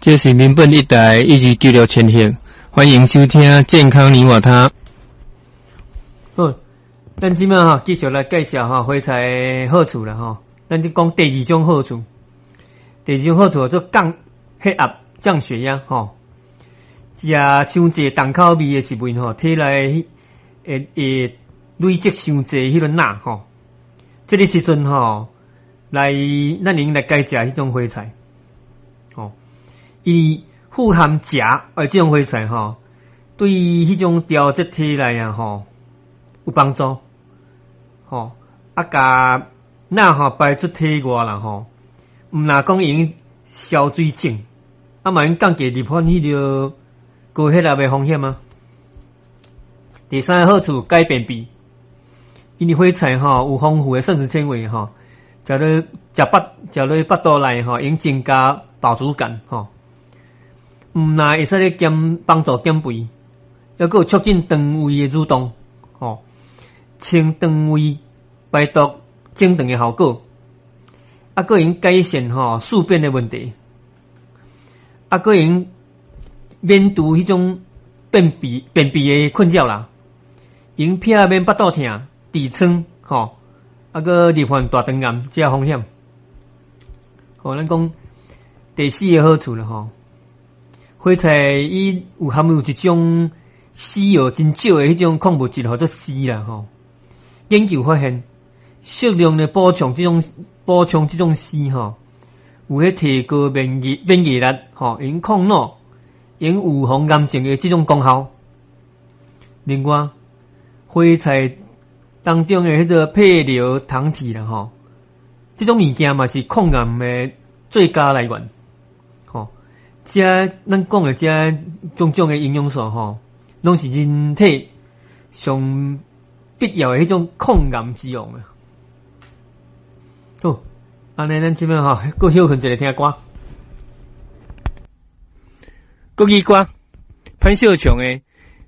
這是民本一台1296千赫，歡迎收聽健康你我他。好，咱這擺吼繼續來介紹吼花菜的好處啦吼。咱就講第二種好處，第二種好處叫做降血壓、降血壓吼。食傷濟重口味的食物吼，體內會會累積傷濟彼個鈉吼。這个時陣吼，來咱用來改食彼種花菜，吼，伊富含鉀的這種花菜吼，對彼種調節體內啊吼有幫助，吼啊，共鈉吼排出體外啦吼，毋若講用消水腫，啊嘛用降低罹患彼个高血壓的風險啊。第三个好處，改便秘，因為花菜吼有豐富的膳食纖維吼，食落食腹食落腹肚內吼，會增加飽足感吼。毋若會使咧減幫助減肥，猶閣有促進腸胃的蠕動吼，清腸胃排毒整腸的效果，啊，閣會改善吼宿便的問題，啊，閣會免除彼種便秘便秘的困擾啦，會避免腹肚疼、痔瘡吼，啊，閣罹患大腸癌這風險。好，咱講第四个好處啦吼，花菜伊有含有一種西藥真少的彼種礦物質，號做硒啦吼。研究發現，適量的補充這種硒吼，有彼提高免疫力吼，用抗老、用預防癌症的這種功效。另外，花菜當中的彼個配硫糖體啦吼，這種物件嘛是抗癌的最佳來源。吼，這咱講的這種種的營養素吼，攏是人體上必要的彼種抗癌之王啊！好，按呢咱這擺吼，閣歇睏一下聽歌。國語歌，潘秀瓊的《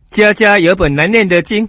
家家有本難念的經》。